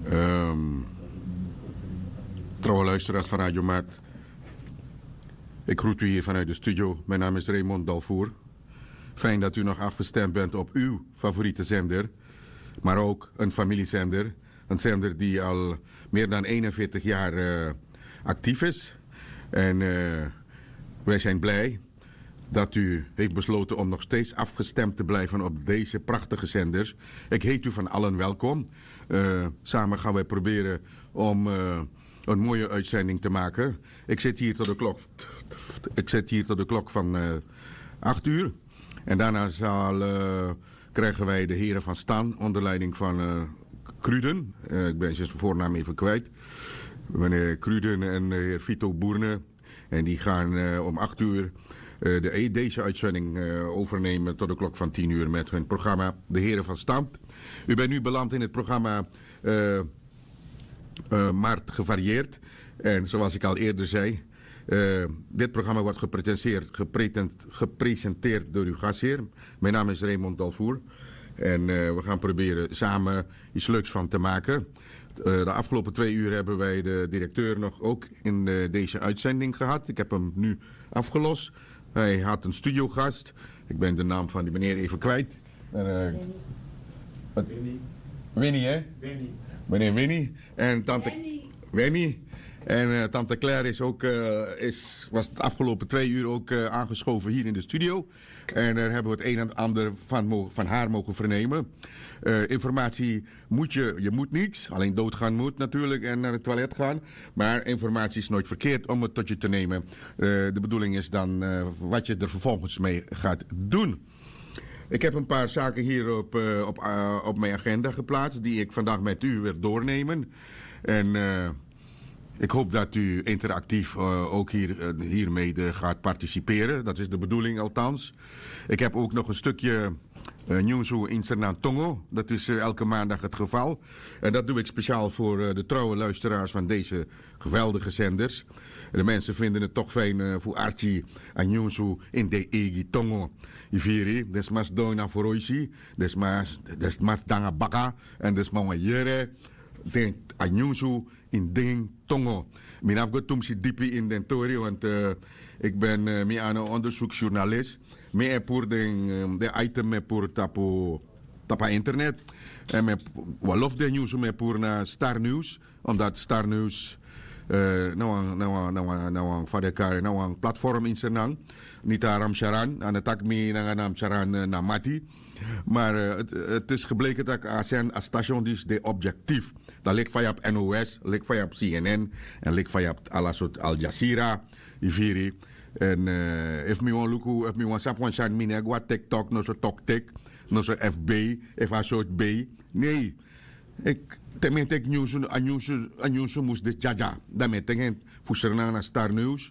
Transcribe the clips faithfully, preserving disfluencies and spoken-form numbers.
Ehm, trouwe luisteraars van Radio Maat, ik groet u hier vanuit de studio. Mijn naam is Raymond Dalvoer. Fijn dat u nog afgestemd bent op uw favoriete zender, maar ook een familiezender. Een zender die al meer dan eenenveertig jaar eh, actief is. En eh, wij zijn blij dat u heeft besloten om nog steeds afgestemd te blijven op deze prachtige zenders. Ik heet u van allen welkom. Eh, samen gaan wij proberen om eh, een mooie uitzending te maken. Ik zit hier tot de klok, ik zit hier tot de klok van eh, acht uur. En daarna zal, eh, krijgen wij de heren van Stan onder leiding van eh, Kruden. Eh, ik ben zijn voornaam even kwijt. Meneer Kruden en de heer Vito Boerne. En die gaan eh, om acht uur eh, de, deze uitzending eh, overnemen tot de klok van tien uur met hun programma De Heren van Stamp. U bent nu beland in het programma eh, eh, Markt Gevarieerd. En zoals ik al eerder zei, eh, dit programma wordt gepresenteerd, gepretent- gepresenteerd door uw gastheer. Mijn naam is Raymond Dalvoer. En eh, we gaan proberen samen iets leuks van te maken. Eh, de afgelopen twee uur hebben wij de directeur nog ook in eh, deze uitzending gehad. Ik heb hem nu afgelost. Hij had een studiogast. Ik ben de naam van die meneer even kwijt. En, eh, wat- Winnie, hè? Meneer Winnie. En tante Wenny. En eh, tante Claire is ook, eh, is, was het afgelopen twee uur ook eh, aangeschoven hier in de studio. En daar hebben we het een en ander van, mo- van haar mogen vernemen. Eh, informatie moet je, je moet niets. Alleen doodgaan moet natuurlijk en naar het toilet gaan. Maar informatie is nooit verkeerd om het tot je te nemen. Eh, de bedoeling is dan eh, wat je er vervolgens mee gaat doen. Ik heb een paar zaken hier op, eh, op, eh, op mijn agenda geplaatst die ik vandaag met u wil doornemen. En eh, ik hoop dat u interactief eh, ook hier, eh, hiermee eh, gaat participeren. Dat is de bedoeling althans. Ik heb ook nog een stukje eh, Nyunsu in Sernantongo. Dat is eh, elke maandag het geval. En dat doe ik speciaal voor eh, de trouwe luisteraars van deze geweldige zenders. De mensen vinden het toch fijn eh, voor Archie en Nyunsu in de Egi Tongo. Yu firi, den sma sidon na foroisi, den sma, den sma sidon na baka, èn den sma wani yere den a nyunsu ini den tongo. Mi no abi go tumsi dipi ini den tori, want eh, ik ben eh, mi na onderzoeksjournalist. Mi e puru den, eh, den item mi e puru tapu, tapu a internet. Èn mi e, wan lo fu den nyunsu mi e puru na Star News, omdat Star News eh, na wan, na wan, na wan, na wan, fa den e kari, na wan platform ini Sranan. Niti a Ramcharan, a no taki mi nanga Ramcharan eh, na mati. Maar eh, het, het is gebleken dat a station disi de objectief. Dan leki fa yu abi N O S, leki fa yu abi C N N, èn leki fa yu abi ala sortu Al Jazeera, yu firi. Èn eh, efu mi wani luku, efu mi wani sabi wan sani, mi no e go na TikTok, noso TokTik, noso F B, efu a sortu B. Nee. Te mi e teki nyunsu, a nyunsu, a nyunsu mus de dyaden. Dan mi e teki en fu Sranan na Star News.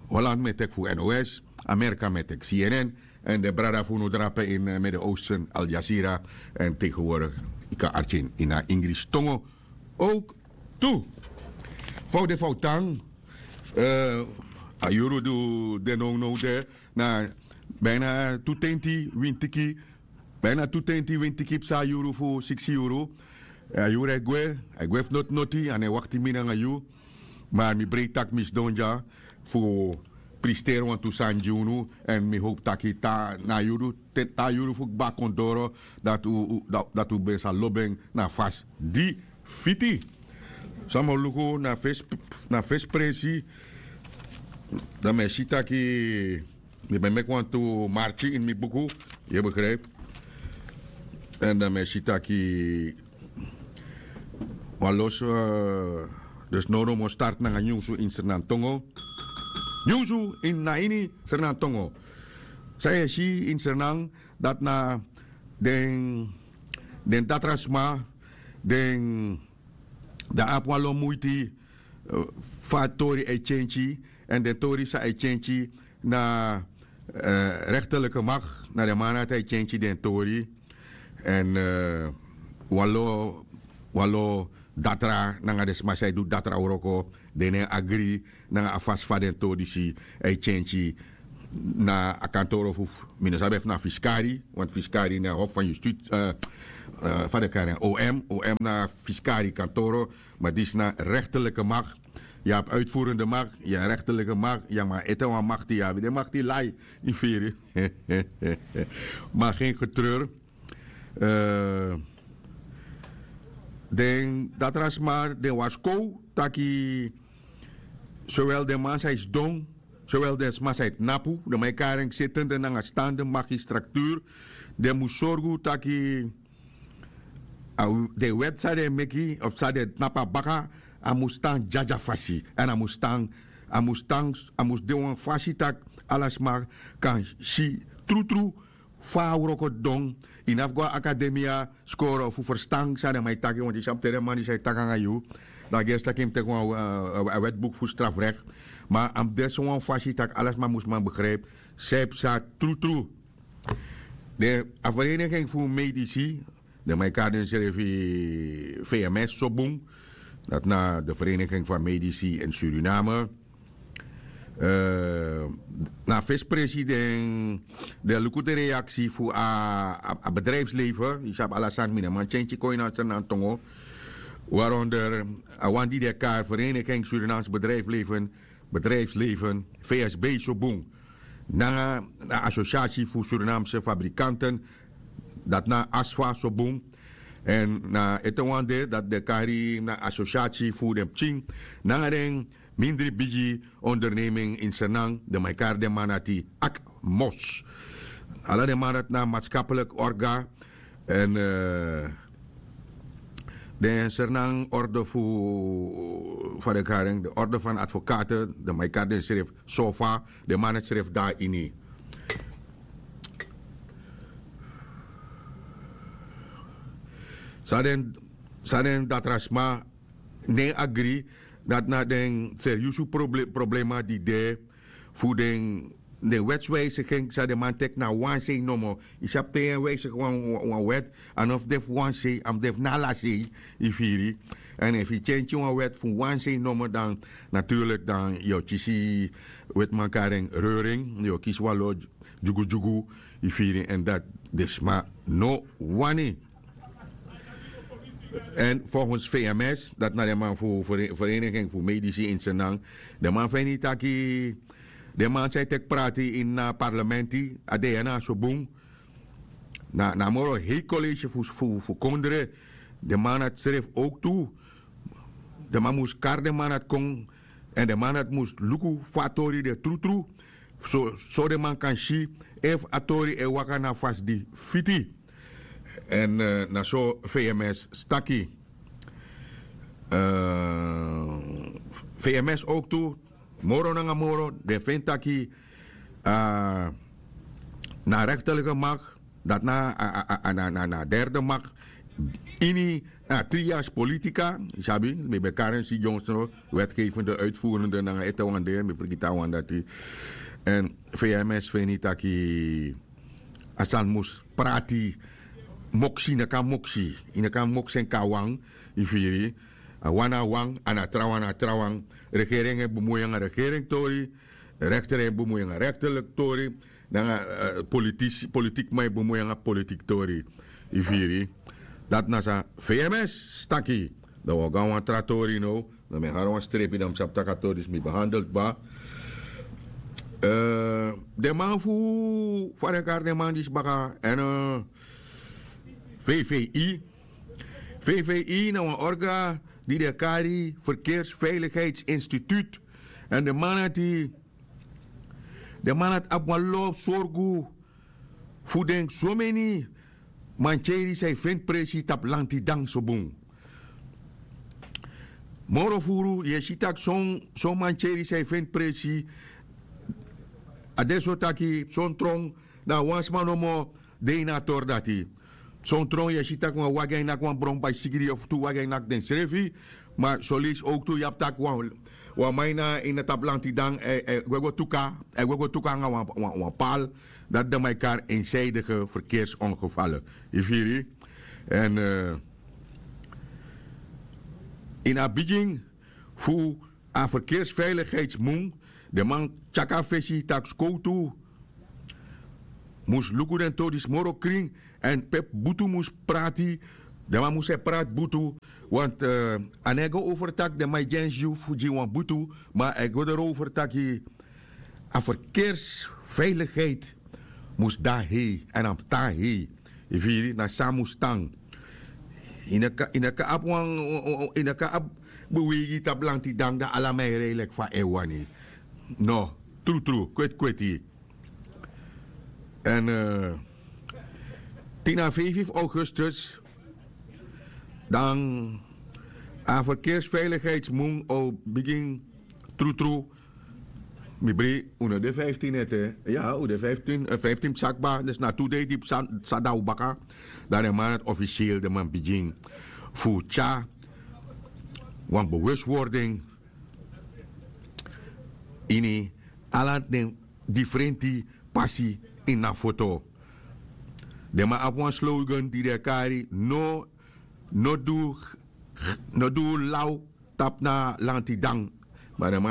Holland mi e teki fu N O S. Amerika mi e teki C N N. Èn den brada fu unu drape ini eh, Midden-Oosten, Al Jazeera. Èn tegenwoordig yu kan arki en ini a Ingrisi tongo ook tu. Fa un de, fa un tan. Eh, a yuru di un de nownow de na bijna tu tenti wintiki. Bijna tu tenti wintiki psa a yuru fu siksi yuru. Eh, a yuru e gwe, a e gwe fu noti noti, a no e wakti mi nanga yu. Ma mi breiti tak' mi sidon dya fu pristeri wantu sani gi unu. Èn mi howpu taki te na a yuru, te, te a yuru fu kba kon doro, dati un, un, da- dati un ben sa lobi en na a fasi di fiti. San mi o luku na fesi, na fesi presi, dan mi e si taki mi ben meki wantu marki ini mi buku, yu e begrijpi. Èn dan mi e si taki wan lo so, eh, dus now now mi o starti nanga nyunsu ini Sranan tongo. Nyunsu ini, na ini Sranan tongo. San yu e si ini Sranan, dati na den, den datrasma, den, den abi wan lo muiti eh, fa a tori e tyentyi. Èn den tori san e tyentyi na eh, rechterlijke macht, na den man dati e tyentyi den tori. Èn eh, wan lo, wan lo datra nanga den sma san e du datra wroko, den no e agri nanga a fasi fa den tori disi e tyentyi. na a kantoro fu, mi no sabi efu na fiskari, want fiskari na hof van justitie, fa den kari en, om om na fiskari kantoro. Ma disi na rechterlijke macht. Yu abi uitvoerende macht, yu abi rechterlijke macht, yu abi man ete wan makti, yu abi den makti lai. Yu firi. Ma gen getreur. Den datrasma den waskow taki, sowel den man san e sidon, sowel den sma san e tnapu, den man e kari en setende nanga stande magistratuur, den mus sorgu taki den wet san den e meki of san den e tnapu na baka, a mus tan dyadyafasi, èn a mus tan, a mus tan, a mus de wan fasi tak' ala sma kan si trutru fa a wroko didon. Yu no abi go na akademia skoro fu ferstan san den man e taki, want yu sabi te den man disi e taki nanga yu, dan a gersi taki yu mus teki wan wetbuk fu strafrek. Ma a mus de sowan fasi tak' ala sma mus man begrijpi san e psa trutru. Den a vereniging fu medisi, den man e kari densrefi vms so bun. Dati na de vereniging fu a medisi in Suriname. Na fesi presi den den luku de reaksi fu a bedrijfsleven, yu sabi ala sani mi no man tyentyi kon ini a sani na tongo. Waronder a wan di den e kari vereniging Surinaams bedrijfsleven, bedrijfsleven, vsb so bun. Nanga na associatie fu Surinaamse fabrikanten, dati na asfa so bun. Èn na ete wan de dati den kari na associatie fu den pikin nanga den mindri bigi onderneming in Sranan, den man e kari den man dati akmos. Ala den man dati na maatskappelijk orga. Èn den Sranan orde fu fa den kari en, de orde van advokaten, den man e kari densrefi sofa, den man dati srefi de na ini. San den san den datrasma no e agri, dati na den seriusu problema di de fu den wetswijziging san den man teki na wan sei nomo. Yu sabi te yu e wijzigi wan wet, a no fu de fu wan sei, a mus de fu na ala sei. Yu firi. Èn efu yu tyentyi wan wet fu wan sei nomo dan, naturlik dan yu o kisi wetiman kari en reuring, yu o kisi wan lo dyugudyugu. Yu firi, èn dati den sma no wani. Èn volgens vms, dati na den man fu vereniging fu medisi in Sranan, den man feni taki den man san e teki prati ini a parlementi, a de ya na so bun. Na a moro hei college fu kondre. Den man dati srefi owktu, den man mus kari den man dati kon. Èn den man dati mus luku fa a tori de trutru, so den man kan si efu a tori e waka na fasi di fiti. Èn na so vms staki. Vms owktu, moro nanga moro den feni taki na a rechterlike makt, dati na a derde makt ini a trias politika. Yu sabi mi ben kari en si dyonso, wetgevende, uitvoerende nanga ete wan de, mi fergiti a wan dati. Èn vms feni taki a sani mus prati moksi, yu no kan moksi, yu no kan moksi en kon na wan. Yu firi. A wan na wan, a na trawan na trawan. Regering e bemui nanga regering tori. Rekter e bemui nanga rekterlik tori. Nanga politik man e bemui nanga politik tori. Yu firi. Dati na san vms staki. Dan wi o go na wan tra tori now. Dan mi e hari wan strepi dan mi sabi tak' a tori disi mi behandel kba. Den man fu fa den kari den man disi baka èn vvi. Vvi na wan orga di den kari verkeersveiligheidsinstituut. Èn den man dati den man dati abi wan lo sorgu fu den someni mantyeri san e feni presi tapu lanti dan so bun. Moro furu yu e si tak' son mantyeri san e feni presi a de so taki son tron na wan sma nomo de ini a tori dati. Son tron yu e si tak' wan wagi e naki wan bron baisigri of tu wagi e naki densrefi. Ma son leisi owktu yu abi tak' wan man ini a tapu lanti dan e gwe go tuka e gwe go tuka nanga wan pal. Dati den man e kari ensijdige verkeersongefale. Yu firi. Èn ini a bigin fu a verkeersveiligheidsmun Den man tyaki a fesi tak' skowtu mus luku den tori disi moro krin. Èn pe butu mus prati, den man mus e prati butu. Want a no e go over tak' den man e gi en yu fu gi wan butu, ma a e go doro over taki a ferkeersveiligheid mus de na hei èn a mus tan na hei. Yu firi, na so a mus tan. Yu no kan abi wan yu no kan abi beweigi tapu lanti dan dan ala man e rei leki fa a e wani. No, trutru kwetikweti. Èn tin na feifi fu augustus dan a ferkeersveiligheidsmun o bigin. Trutru. Mi bri, un no de vijftien ete. Ya un de vijftien, vijftien psa kba dus na tu dei di psa. Dati un baka. Dan den man dati officieel den man bigin fu tyari wan bewustwording ini ala den difrenti pasi ini a foto. Den man abi wan slogan di den e kari no no du no du law tapu na lantidan. Ma den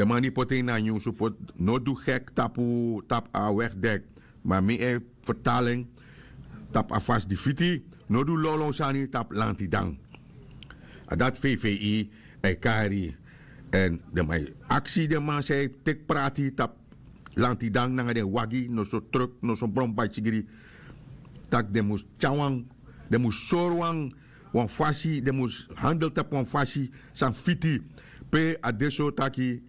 man di poti en ini a nyunsu poti no du gek tapu tapu a wegdek. Ma mi e fertali en tapu a fasi di fiti no du lawlaw sani tapu lantidan. A dati fei fei e kari. Èn den man e aksi den man san e teki prati tapu lantidan nanga den wagi noso truk noso bron baisigri tak' den mus tyari wan den mus sori wan wan fasi den mus handel tapu wan fasi san fiti pe a de so taki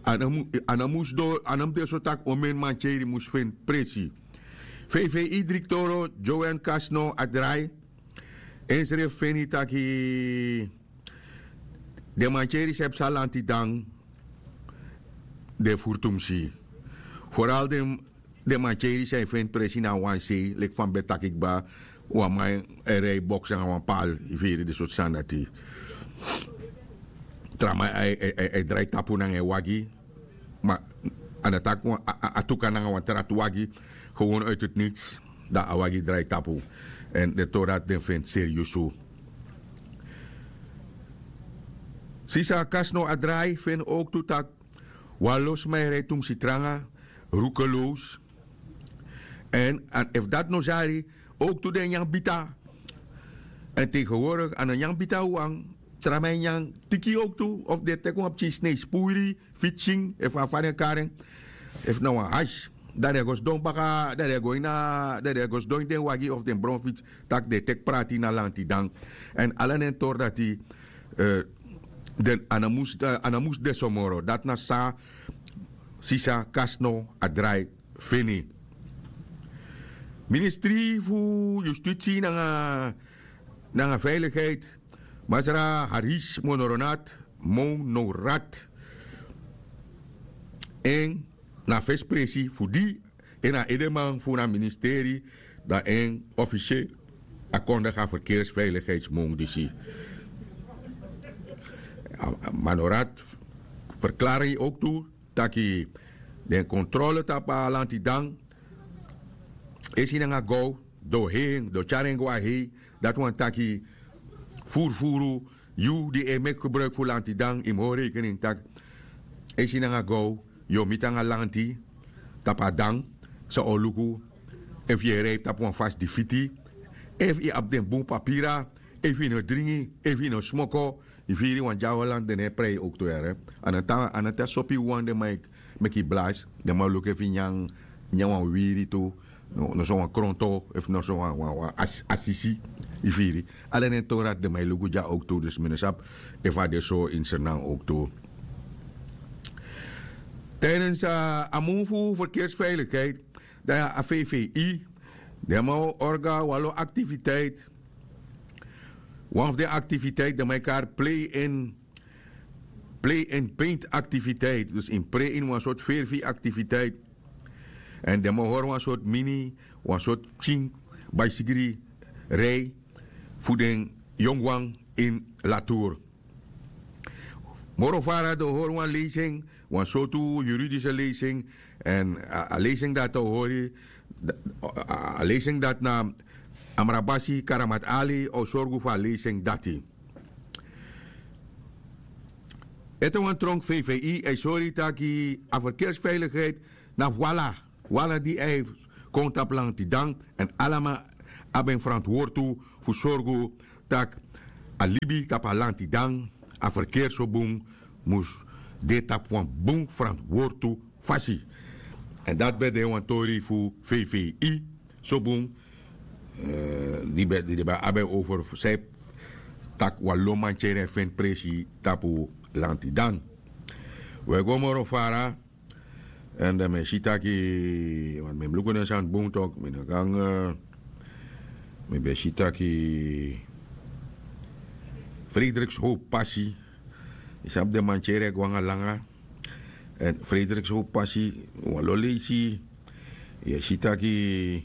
a no mus de so taki omen mantyeri mus feni presi. Fei fei e direktoro joen kasno a drai ensrefi feni taki den mantyeri san e psa lantidan den furtumsi. Foral den mantyeri san e feni presi na a wan sei leki fa mi ben taki kba wan man e rei boksi nanga wan pal yu firi den sortu sani dati. Tra man e drai tapu nanga en wagi ma a no taki a tu kan nanga wan tra tu wagi. Gewon uitu nits dan a wagi drai tapu. Èn den tori dati den feni seriusu. Sisa kasno a drai feni owktu tak' wan lo sma e rei tumsi tranga rukelows. Èn efu dati no sari owktu den e nyan bita. Èn tegenwoordik a no nyan bita wawan tra man e nyan tiki owktu of den e teki wan pikin snei spuri fitsin efu a fani e kari en efu na wan hasi dan den e go sidon baka dan den e go ini a dan den e go sidon ini den wagi of den bronfits tak' den e teki prati ini a lanti dan. Èn ala den tori dati den a no mus de so moro dati na san sisa kasno a drai feni. Ministri fu yustiti nanga veiligheid masra haris monoronat monorat en na fesi presi fu di en na edeman fu na ministeri dan en officieel a kondigi a verkeersveiligheidsmong disi. Manorat verklari ook tu taki den kontrole tapu a lanti dan esi nanga gow do hei en do tyari en go a hei. Dati wani taki furufuru yu di e meki gebruik fu lanti dan yu mus hori rekening taki esi nanga gow yu o miti nanga lanti tapu a dan san o luku efu yu e rei tapu wan fasi di fiti efu yu abi den bun papira efu yu no dringi efu yu no smoko. Yu firi wan dyawelan den no e prei owktu yere. A no tan a sopi wan den man e meki blasi den man luku efu yu nyan wan wiri tu noso wan kronto efu noso wan asisi. Yu firi ala den tori dati den man e luku dya owktu dus mi no sabi efu a de so ini sernan owktu. Tidensi a mun fu ferkeersveiligheid dan a vvi den man o orga wan lo aktiviteit. Wan fu den aktiviteit den man e kari play in play in paint aktiviteit dus in prei ini wan sortu vervi aktiviteit. Èn den man o hori wan sortu mini wan sortu pikin baisigri rei fu den yongu wan ini latur. Moro fara den o hori wan leising wan sortu yuridise leising. Èn a leising dati o hori a leising dati na amrabasi karamat ali o sorgu fu a leising dati. Ete wan tronk vvi e sori yu taki a verkeersveiligheid na fu ala wan na di a e kon tapu lantidan. Èn ala man abi en frantwortu fu sorgu tak' a libi tapu a lantidan, a verkeersobun mus de tapu wan bun frantwortu fasi. Èn dati ben de wan tori fu vvi. Sobun di ben abi en over fu san e taki wan lo mantyeri en feni presi tapu lantidan. We go moro fara. Èn dan mi e si taki, want mi mus luku den sani bun tok' mi no kan. Mi ben si taki frederikshow pasi, yu sabi den mantyeri e go nanga langa. Èn frederikshow pasi, wan lo leisi yu e si taki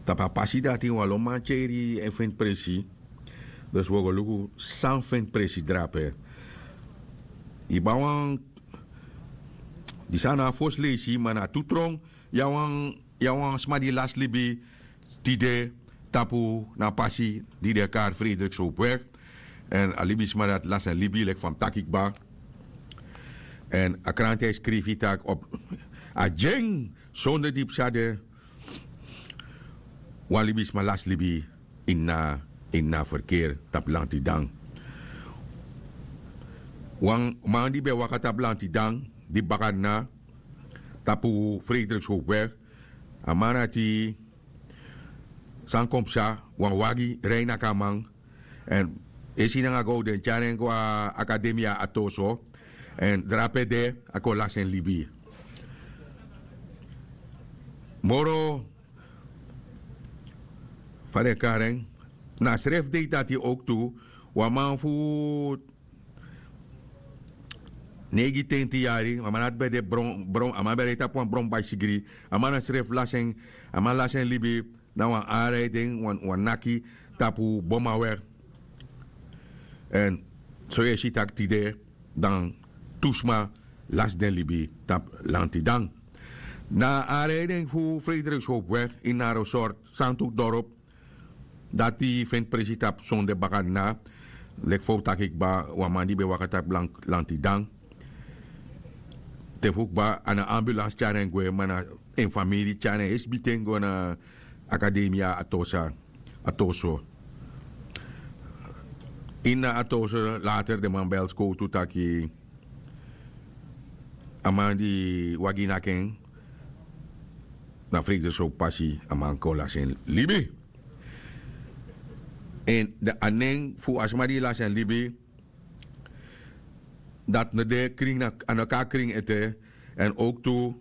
tapu a pasi dati wan lo mantyeri e feni presi. Dus wi o go luku san feni presi drape. Yu ban wan disi a na a fosi leisi ma na tu tron. Yu abi wan sma di lasi libi tide tapu na a pasi di den e kari frederikshow pwek. Èn a libisma dati lasi en libi leki fa mi taki kba. Èn a kranti e skrifi tak' a dyen sonder di psa de wan libisma lasi libi ini a verkeer tapu lantidan. Wan man di ben e waka tapu lantidan di baka dna tapu frederikshow pwek. A man dati san kon psa wan wagi rei naki a man. Èn esi nanga gow den tyari en go na akademia atoso. Èn drape de a kon lasi en libi. Moro fa den e kari en na a srefi dei dati owktu wan man fu neigintenti yari a man dati ben de bron a man ben de tapu wan bron baisigri. A man na srefi lasi en a man lasi en libi na wan anridi en wan naki tapu bomaweg. Èn so yu e si tak' tide dan tu sma lasi den libi tapu lantidan. Na a anridi en fu frederikshow pwek ini a resort santu dorp dati feni presi tapu sonde bakadna. Leki fa un taki kba wan man di ben waka tapu lantidan te fu kba a na ambulans tyari en gwe ma na en famiri tyari en hesbiten go na akademia atoso. Ini a atoso later den man bel skowtu taki a man di wagi naki en na frederikshow pasi a man kon lasi en libi. Èn a nen fu a sma di lasi en libi dati no de krin a no kon na krin ete. Èn owktu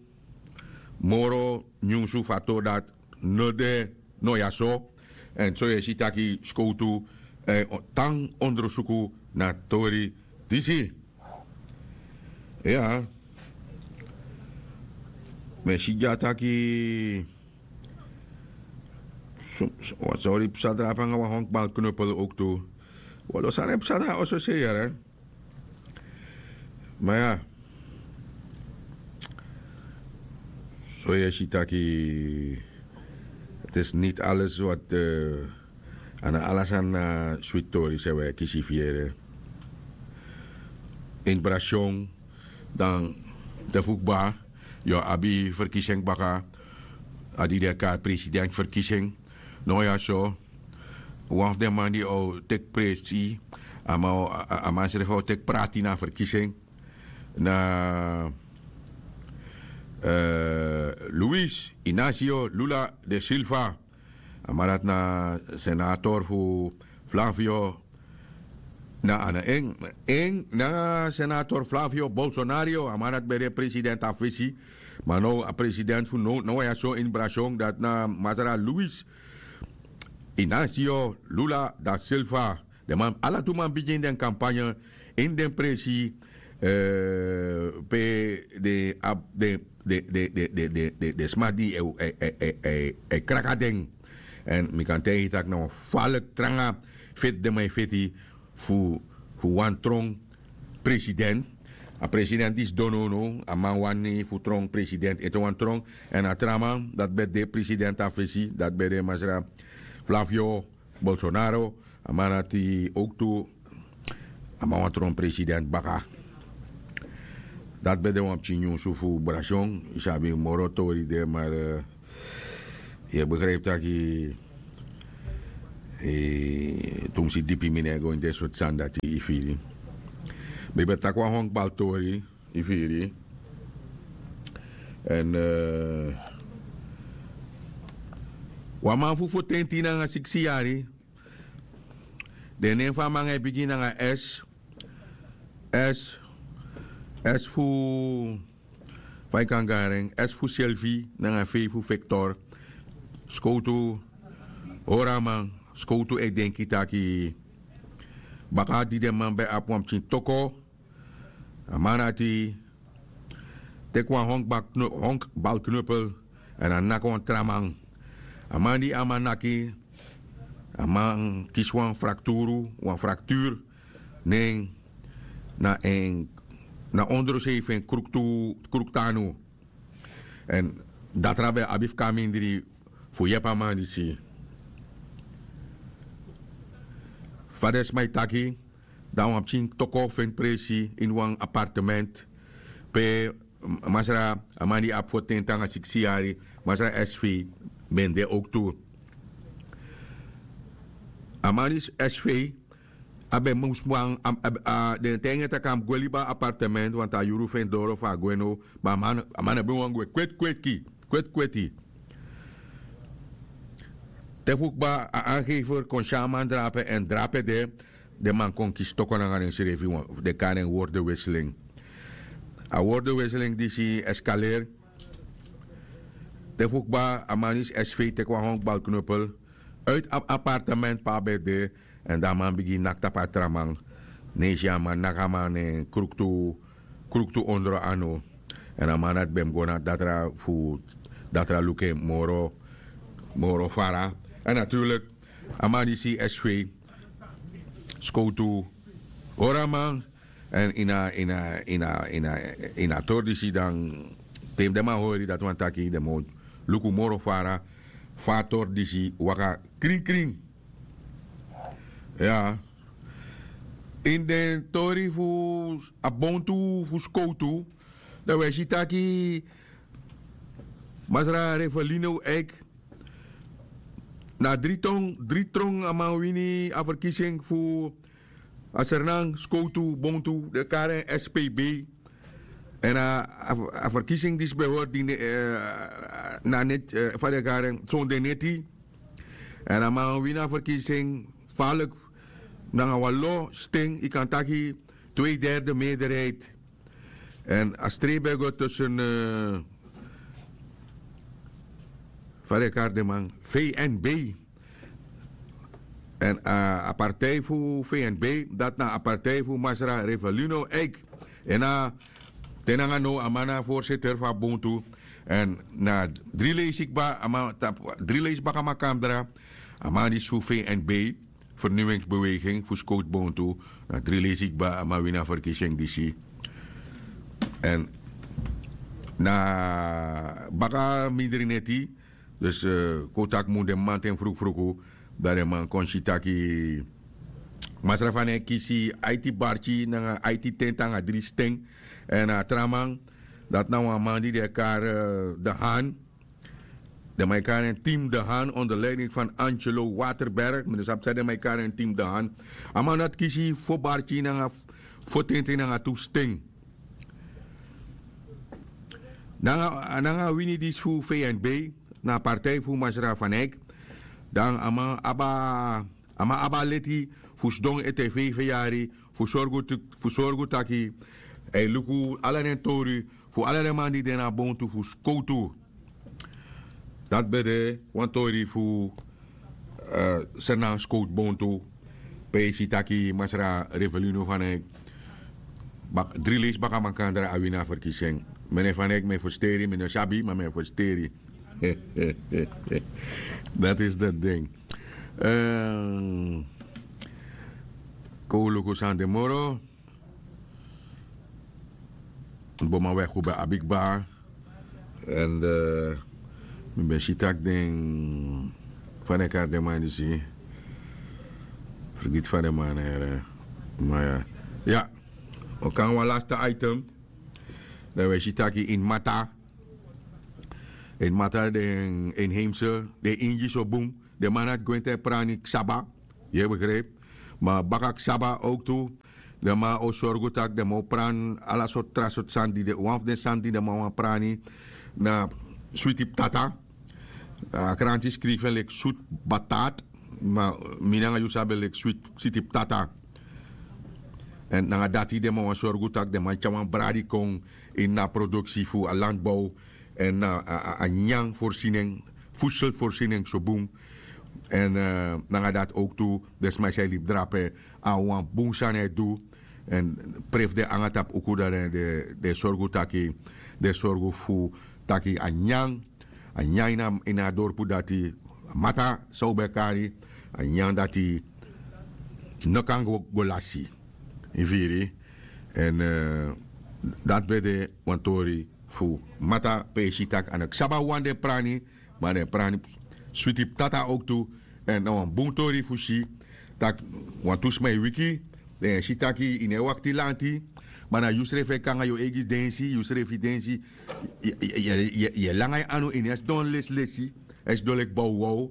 moro nyunsu fu a tori dati no de no ya so. Èn so yu e si taki skowtu e tan ondersuku na tori disi. Iya. Mi e si dya taki wan sori psa drape nanga wan honkbalknupel owktu. Wan lo sani e psa na a oso sei yere. Ma ya so yu e si taki het is niti ales wat a na ala sani na switi tori san wi e kisi fu yere. Ini brasion dan te fu kba yu o abi ferkisi en baka. A di den e kari presidenti ferkisi en. No ya so wan fu den man di o teki presi a man srefi o teki prati na a ferkisi en na luis inacio lula de silva. A man dati na senator fu flavio na a na en en na senator flavio bolsonario a man dati ben de presidenti na fesi. Ma now a presidenti fu now a ya so ini brasion dati na masra luis inacio lula da silva. Den man ala tu man bigin den kampanye ini den presi pe den abi den sma di e kraka den. Èn mi kan taigi yu tak' na wan faliki tranga feti den man e feti fu wan tron president. A president disi don nownow a man wani fu tron president ete wan tron. Èn a tra man dati ben de president na fesi dati ben de masra flavio bolsonaro. A man dati owktu a man wan tron president baka. Dati ben de wan pikin nyunsu fu brasion. Yu sabi moro tori de, mar yu e begrijpi taki tumsi dipi mi no e go ini den sortu sani dati, yu firi. Mi ben taki wan honkbaltori, yu firi. Èn wan man fu fotenti nanga siksi yari. Den nen fu a man e bigin nanga s s s fu fa yu kan gari en, s fu selfi nanga fei fu fektor. Skowtu hori a man. Skowtu e denki taki baka di den man ben abi wan pikin toko, a man dati teki wan honkbalknupel èn a naki wan tra man. A man di a man naki, a man kisi wan frakturu, wan fraktur, nen na en na ondrosei fu en kruktu kruktu anu. Èn datra ben abi fu kon na mindri fu yepi a man disi. Fa den sma e taki, dan wan pikin toko feni presi ini wan apartement pe masra a man di abi fotenti nanga siksi yari, masra sv, ben de owktu. A man disi sv a ben mus man den ten e taki a mus gwe libi a apartement wantu a yuru feni doro fu a gwe no. Ma a man no ben wani gwe kweti kweti kweti kweti. Te fu kba a angever kon si a man drape èn drape de. Den man kon kisi toko nanga densrefi. Den kari en wordewisiling. A wordewisiling disi eskaleri. Te fu kba a man disi sv teki wan honkbalknupel uiti a apartement pe a ben de. Èn dan a man bigin naki tapu a tra man. Ne yu si a man naki a man na en kruktu kruktu ondro anu. Èn a man dati ben mus go na datra fu datra luku en moro moro fara. Èn naturlik a man disi sv skowtu hori a man. Èn ini a ini a ini a ini a ini a tori disi dan te den man hori dati wani taki den mus luku moro fara fa a tori disi waka krinkrin. Ya. Ini den tori fu a bontu fu skowtu dan wi e si taki masra revelino eik na dri tron dri tron a man wini a verkiesing fu a sernan skowtu bontu den kari en spb. Èn a a verkiesing disi ben hori di na neti fa den kari en sonde neti. Èn a man wini a verkiesing falik nanga wan lo sten yu kan taki twee derde meerderheid. Èn a strebi e go tussen fa den kari den man vnb. Èn a partij fu vnb dati na a partij fu masra revelino eik. Èn a te nanga now a man na a voorzitter fu a bontu. Èn na dri leisi kba a man tapu dri leisi baka makandra a man disi fu vnb, vernieuwingsbeweging fu skowtu bontu. Na dri leisi kba a man wini a verkiesing disi. Èn na baka mindri neti dus kon un taki mun den mamanten frukufruku. Dan den man kon si taki masra fana e kisi aiti barki nanga aiti tenti nanga dri sten. Èn a tra man dati na wan man di den e kari de han. Den man e kari en tim de han onder leiding van angelo waterberg mi no sabi san den man e kari en tim de han. A man dati kisi fo barki nanga fo tenti nanga tu sten. Nanga a wini disi fu vnb na a partij fu masra van eik. Dan a man abi a leti fu sidon ete feifi yari fu sorgu taki a e luku ala den tori fu ala den man di de na a bontu fu skowtu. Dati ben de wan tori fu sernan skowtu bontu. Pe yu si taki masra revelino van eik dri leisi baka makandra a wini a verkiesing. Mene van eik mi e fersteri mi no sabi ma mi e fersteri. Dati is dati ding. Kon un luku san de moro. Boma wek un ben abi kba. Èn mi ben si taki den fa den kari den man disi. Fergiti fa den man na here. Ma ya. Ya. Un kan wan laste item. Dan wi e si taki ini mata, ini mata den inheimse, den ingi so bun. Den man na gwenti e prani ksaba. Yu e begripi? Ma baka ksaba owk tu, den man o sorgu tak' den man o prani ala sortu tra sortu sani di den wan fu den sani di den man wani prani, na switi ptata. A kranti skrifi en leki switi bataat. Ma mi nanga yu sabi en leki switi ptata. Èn nanga dati den man wani sorgu tak' den man tyari wan bradi kon ini a produksi fu a landbow. Èn a nyan forsi nen, fusul forsi nen so bun. Èn nanga dati owk tu, den sma e sai libi drape, a wan bun sani e du. Èn prefu den anga tapu uku dan den e sorgu taki, den e sorgu fu taki a nyan, a nyan ini a dorpu dati, a mata san un ben kari, a nyan dati no kan go lasi. Yu firi? Èn dati ben de wan tori fu mata pe e si tak' a no ksaba wawan den prani, ma den prani switi ptata owk tu. Èn na wan bun tori fu si tak' wantu sma e wiki, den e si tak' yu no e wakti lanti, ma na yusrefi e kon nanga yu eigi densi, yusrefi densi. Yu e langa yu anu, yu no e sidon leslesi, e sidon leki bowwow.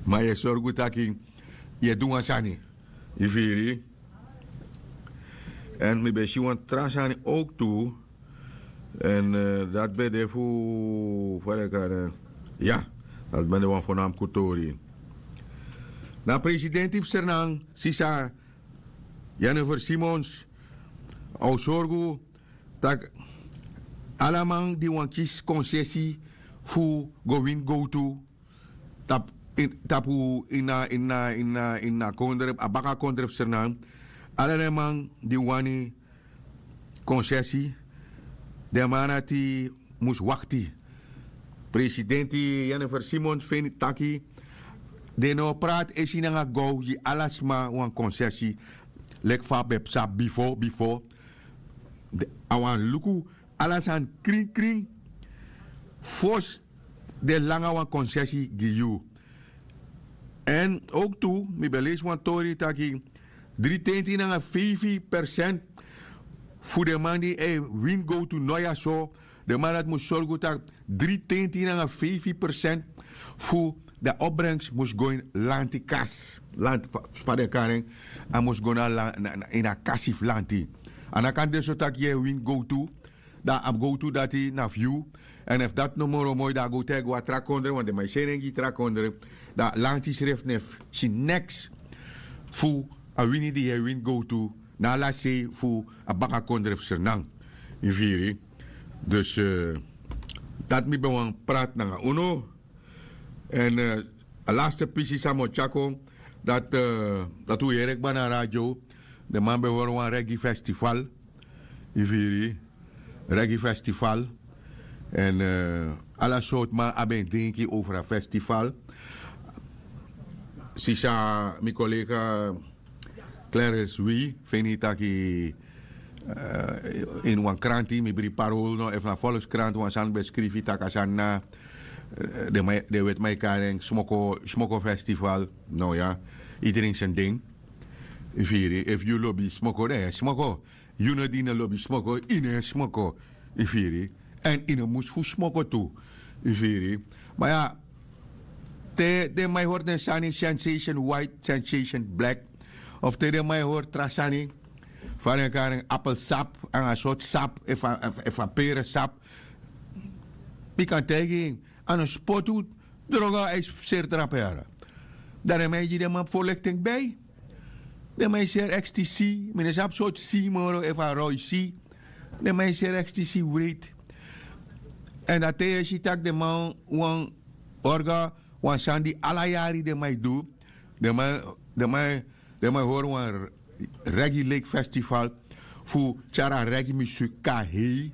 Ma yu e sorgu tak' yu e du wan sani. Yu firi? Èn mi ben si wan tra sani owk tu. Èn dati ben de fu fa den e kari en, ya, dati ben de wan fonamku tori. Na presidenti fu sernan, sisa Jennifer Simons, a o sorgu tak' ala man di wani kisi konsesi fu go wini gowtu tapu ini a kondre, a baka kondre fu sernan, ala den man di wani konsesi, den man dati mus wakti. Presidenti Jennifer Simons feni taki den no o prati esi nanga gow gi ala sma wan konsesi, leki fa a ben psa bifo bifo. A wani luku ala sani krinkrin fosi den langa wan konsesi gi yu. Èn owktu mi ben leisi wan tori taki dri tenti nanga feifi persent fu den man di e wini gowtu no ya so, den man dati mus sorgu tak' dri tenti nanga feifi persent fu den opbrengs mus go ini lanti kas, lanti fa den e kari en, a mus go na ini a kasi fu lanti. A no kan de so tak' yu e wini gowtu, dan a gowtu dati na fu yu. Èn efu dati no moro moi dan a gowtu e go na tra kondre, want den man e seni en gi tra kondre. Dan lanti srefi no e si neks fu a wini di yu e wini gowtu na ala sei fu a baka kondre fu sernan. Yu firi? Dus dati mi ben wani prati nanga unu. Èn a laste pisi san mi o tyari kon, dati un yere kba na radio, den man ben hori wan regi festival. Yu firi? Regi festival. Èn ala sortu man a ben e denki over a festival. Sisa, mi kolega Clarence Wi feni taki ini wan kranti, mi bribi parol no, efu na Volkskrant, wan sani ben skrifi tak' a sani na den weti man e kari en smoko festival. No ya, iedereen zijn ding. Yu firi? Efu yu lobi smoko dan yu e smoko. Yu no di no lobi smoko, yu no e smoko. Yu firi? Èn yu no mus fu smoko tu. Yu firi? Ma ya, te den man e hori den sani sensation white, sensation black, of te den man e hori tra sani fa den e kari en, apelsap nanga sortu sap, efu a peresap, mi kan taigi yu, a no spotu, droga a e seri drape yara. Dan den man e gi den man fu lektenkbei. Den man e seri ekstisi, mi no sabi sortu si moro, efu a roi si. Den man e seri ekstisi wreiti. Èn dati yu e si tak' den man wani orga wan sani di ala yari den man e du. Den man e hori wan regi leki festival fu tyari a regi musuku kon na hei.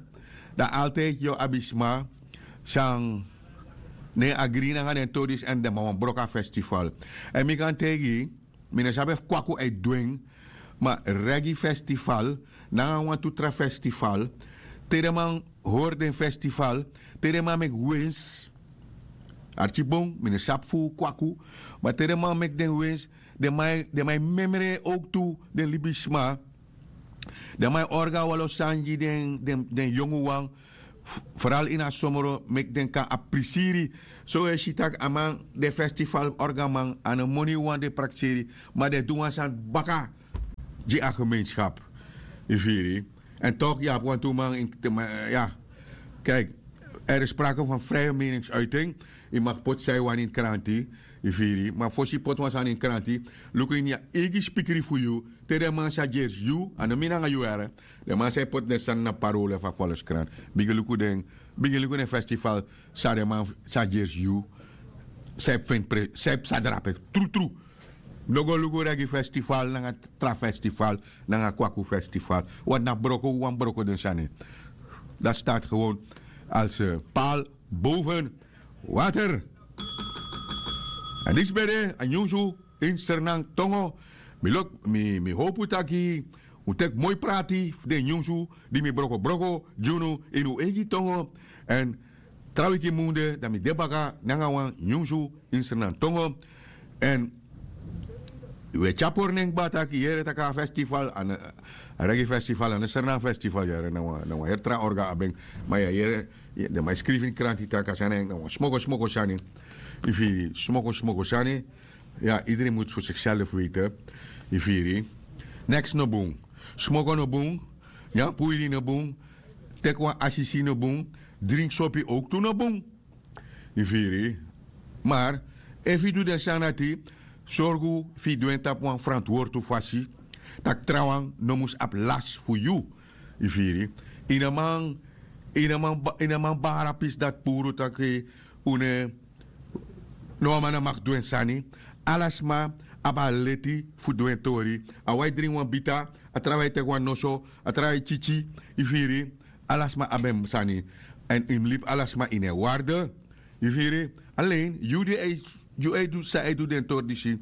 Dan altidi yu o abi sma san no e agri nanga den tori disi èn den man wani broko a festival. Èn mi kan taigi yu, mi no sabi efu kwaku e du en, ma regi festival nanga wantu tra festival, te den man hori den festival, te den man meki wens, artibon, mi no sabi fu kwaku, ma te den man meki den wens, den man e memre owktu den libisma. Den man e orga walo sani gi den den yongu wan. Foral ini a somro meki den kan abi prisiri. So wi e si tak' a man den festival orgaman a no moni wan den prakseri, ma den e du wan sani baka gi a gemeenskap. Yu firi? Èn tok' yu abi wantu man ini ya. Kijk, er is sprake van vrije meningsuiting. Yu mag poti san yu wani ini kranti. Yu firi? Ma fosi yu poti wan sani ini kranti, luku ini yu eigi spikri fu yu. Te den man sa gersi yu, a no mi nanga yu were. Den man sa e poti den sani na parole fu a folskranti. Bigin luku den bigin luku den festival. San den man sa gersi yu. San yu psa drape trutru. No go luku regi festival nanga tra festival nanga kwaku festival. Wani na broko wan broko den sani. Dati start gewon als paal boven water. Èn disi ben de a nyunsu ini sernang tongo. Mi lok mi mi hopu taki un teki moi prati fu den nyunsu di mi brokobroko gi unu ini un eigi tongo. Èn tra wiki munde dan mi de baka nanga wan nyunsu ini sernang tongo. Èn wi e tyari pori nen kba tak' yu yere tak' a festival a no a regi festival a no sernang festival yere na wan heri tra orga abi en. Ma yu a yere den man e skrifi ini kranti tak' a sani na wan smoko smoko sani. Yu firi? Smoko smoko sani. Ya, idri mus fu sikself weite. Yu firi? Neks no bun. Smoko no bun. Nyan puiri no bun. Teki wan asisi no bun. Dringi sopi owktu no bun. Yu firi? Mar efu yu du den sani dati, sorgu fu yu du en tapu wan ferantwortu fasi, tak' trawan no mus abi lasi fu yu. Yu firi? Yu no man yu no man bara pisi dati puru tak' un no wan man no maki du en sani. Ala sma abi a leti fu du en tori. A wan e dringi wan bita, a trawan e teki wan noso, a trawan e tyityi. Yu firi? Ala sma abi en sani. Èn yu mus libi ala sma ini en warde. Yu firi? Alen yu di e yu e du san e du den tori disi,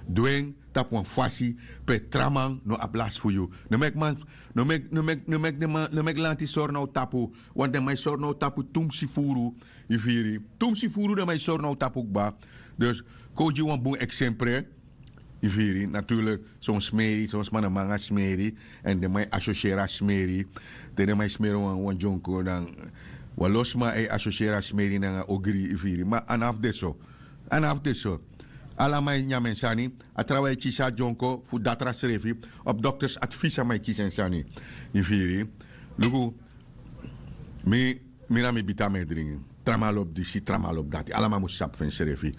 du en tapu wan fasi pe tra man no abi lasi fu yu. No meki man no meki no meki no meki den man no meki lanti sori na un tapu. Want den man e sori na un tapu tumsi furu. Yu firi? Tumsi furu den man e sori na un tapu kba. Dus kon un gi wan bun eksempre. Yu firi? Naturlik son smeri son sma na man nanga smeri. Èn den man e asosieri a smeri. Te den man e smeri wan dyonko dan wan lo sma e asosieri a smeri nanga ogri. Yu firi? Ma a no abi de so. A no abi de so. Ala man e nyan mi en sani. A trawan e kisi a dyonko fu datra srefi. Op dokters advis a man e kisi en sani. Yu firi? Luku, mi mi na mi bita mi e dringi. Tra man lobi disi tra man lobi dati ala man mus sabi fu ensrefi.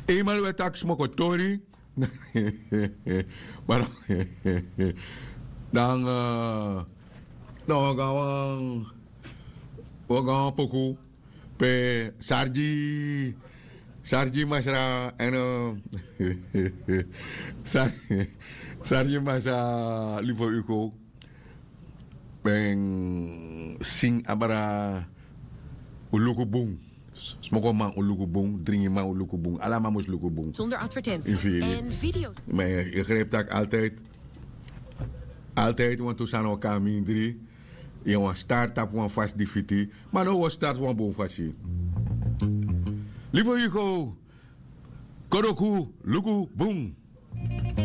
Einmal wi e taki smokotori. Bara dan dan wi o go na wan wi o go na wan poku pe sargi sargi masra èn sargi masra livo uko. Ben sing abra. Un luku bun. Smoko man un luku bun dringi man un luku bun ala man mus luku bun. Zonder advertenties en video. Ma yu grijp tak' altijd altijd wantu sani o kon na mindri. Yu wan start tapu wan fasi di fiti. Ma no wi o start wan bun fasi. Livo yu go. Kodoku luku bun.